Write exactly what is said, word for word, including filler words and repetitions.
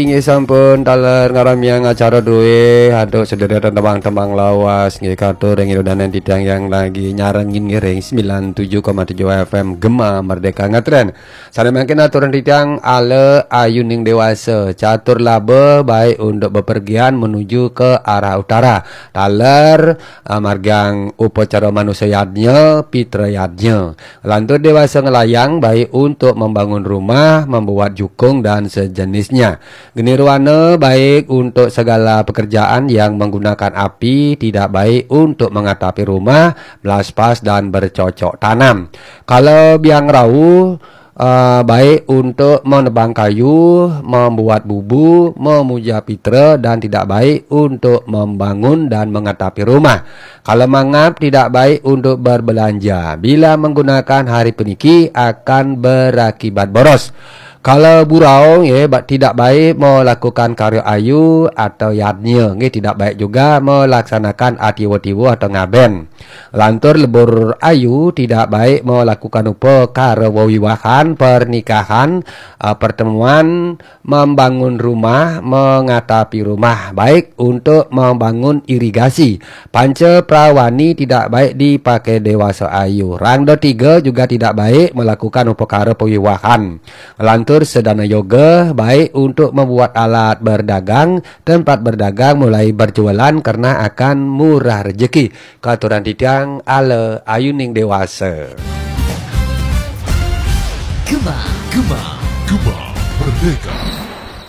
Inggih sampun taler ngaramiang acara druéh, aduh sedherek tembang-tembang lawas, nggih katur ring ida dané titiang yang lagi nyarengin ngiring sembilan tujuh koma tujuh F M Gema Merdeka ngetren. Sané mangkin aturan titiang ala ayuning déwasa, catur laba baik untuk bepergian menuju ke arah utara. Taler, ah, margiang upacara manusa yadnya, pitra yadnya. Lantur déwasa ngelayang baik untuk membangun rumah, membuat jukung dan sejenisnya. Genirwana baik untuk segala pekerjaan yang menggunakan api, tidak baik untuk mengatapi rumah, melaspas dan bercocok tanam. Kalau biang rauh, eh, baik untuk menebang kayu, membuat bubu, memuja pitra dan tidak baik untuk membangun dan mengatapi rumah. Kalau mangap tidak baik untuk berbelanja. Bila menggunakan hari puniki akan berakibat boros. Kalau burau, ya, ba-, tidak baik melakukan karya ayu atau yadnya, nggih, tidak baik juga melaksanakan atiwa-tiwa atau ngaben. Lantur lebur ayu tidak baik melakukan upakara wewiwahan, pernikahan, eh, pertemuan, membangun rumah, mengatapi rumah, baik untuk membangun irigasi. Panca prawani tidak baik dipakai dewasa ayu. Rangda tiga juga tidak baik melakukan upakara pewiwahan. Lantur sedana yoga baik untuk membuat alat berdagang, tempat berdagang mulai berjualan karena akan murah rezeki. Katuran titiang ala ayuning dewasa. Gema, Gema, Gema Merdeka.